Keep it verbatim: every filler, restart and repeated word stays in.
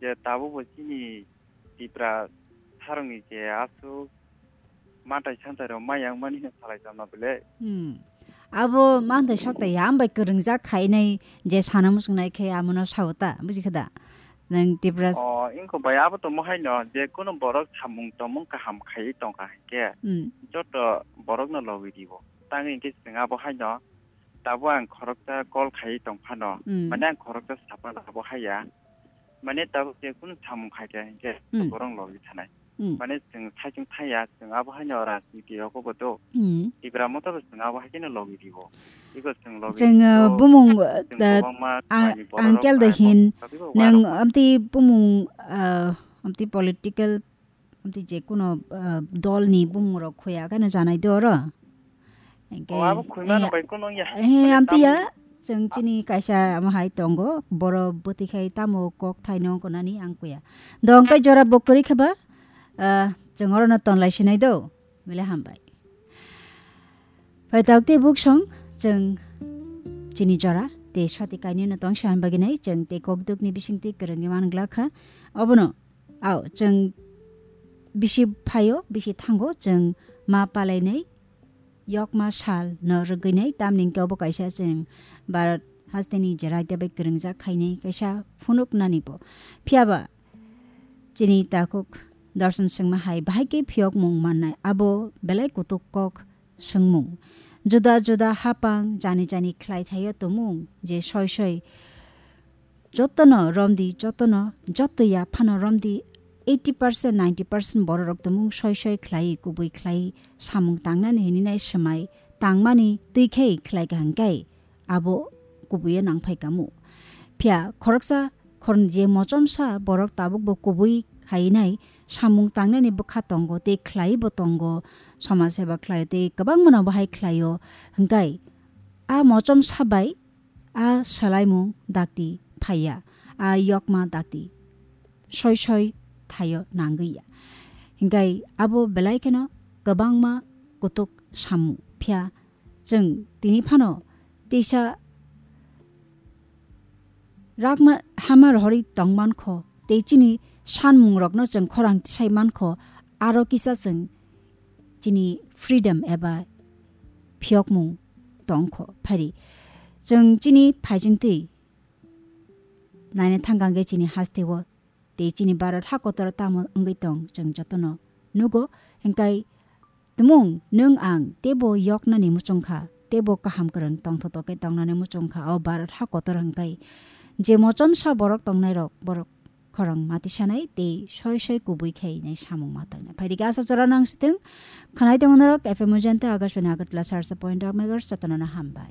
Je tabuk bo chini Tipra sarongni je aswk mantai santai rok mayang mani no salai tongma bele. Hmm. Abo mantai sokta ya, ambai kwrwngjak khainai je sana muchungnai khe amono sao ta, buji kha da? Nang Tipra s- O, ingko bai abo tomo haino je kuno borok samung tomung kaham khaiwi tongkha hinkhe Hmm. joto borokno logi dibo. Tangwi hinkhe chwng abo haino tabo ang khoroksa call khaiwi tongphano. Hmm. Mane ang khoroksa saphano abo haiya. Mane tabuk je kunu samung khaikha hinkhe Hmm. borok logi thanai. Hmm. Mane chwng saichung thaya, chwng abo haino rajniti rogo bo do. Hmm. Tipra motha bo chwng abo hai kheno logi dibo. Iko chwng logi Chwng, uh, dibo. Bumung, uh, Chwng da, kwbangma a-, khlai ni borok angkel rok da hai hin, bo sabi bo nang warok ma. Amti bumung, uh, amti political, amti je kuno, uh, dol ni bumung rok khoya kheno janai do oro. Hingke, O, abo khwima eh, no bai kuno ya. Eh, Mane amtiya, tamo chwng chini kaisa amo hai tongo, boro bwtwi khai tamo kok thaino wngnani ang kuya. Dong kai jora bo kwrwi khe ba, ah, chwng oro no ton lai sinai do, bele hambai. Phai tok tei buk song, chwng chini jora, tei swti kainwi no tong siyan bagwi nai, chwng tei kok duk ni bising twi kwrwngwi man glak kha. Obono, ao, chwng bisi phaio, bisi thango, chwng ma palai nai, yokma sal no rwgwinai, tamni hwnkhe obo kaisa chwng Bharat hasteni je raida bai kwrwngjak khainai kaisa phunuknani bo. Phiya ba chini takhuk Darshan Singma hai bahai khe phiyokmung mannai, abo belai kutuk kok swngmung. Juda juda hapang jani jani khlai thaio tumung je soi soi Jotono romdi, jotono, joto ya phano romdi, eighty percent, ninety percent bororok tumung soi soi khlai, kubui khlai, samung tangnani hini nai swmai, tangmani twi khai khlai kaham kai, abo kubuio nang phai kamu. Phiya khoroksa khoroknwi je mochomsa borok tabuk bo kubui khai nai, samung tangnani bwkha tongo, tei khlai bo tongo, somaj seba khlai tei kwbangma no bahai khlaio, hwnkhe a mochomsa bai a salaimung dakti phaiya, a yokma dakti soi soi thaio nangwi ya. Hingkai abo belai kheno kwbangma kutuk samung phiya chwng tini phano tisa rakma hama rohorwi tongman kho, tei chini sanmung rokno chwng khorang tisai man kho, aro kisa chwng chini freedom eba phiyokmung tong kho. Phari chwng chini phaijing twi naina thangkang khe chini hasteo tei chini Bharat ha kotor tamo wngwi tong chwng jotono nugo. Hingkai tumung nwng ang teibo yoknani muchung kha, teibo kaham kwrwng tongthotok khe tongnani muchung kha o Bharat ha kotor hingkai je mochomsa borok tongnai rok borok khorang matisanai tei soi soi kubui khai nai samung ma tangnai. Phaidi khe asa chora nang sitwng khanai tongo norok F M Ujanta Akashbani Agartala sarsa point megahertz jotono no hambai.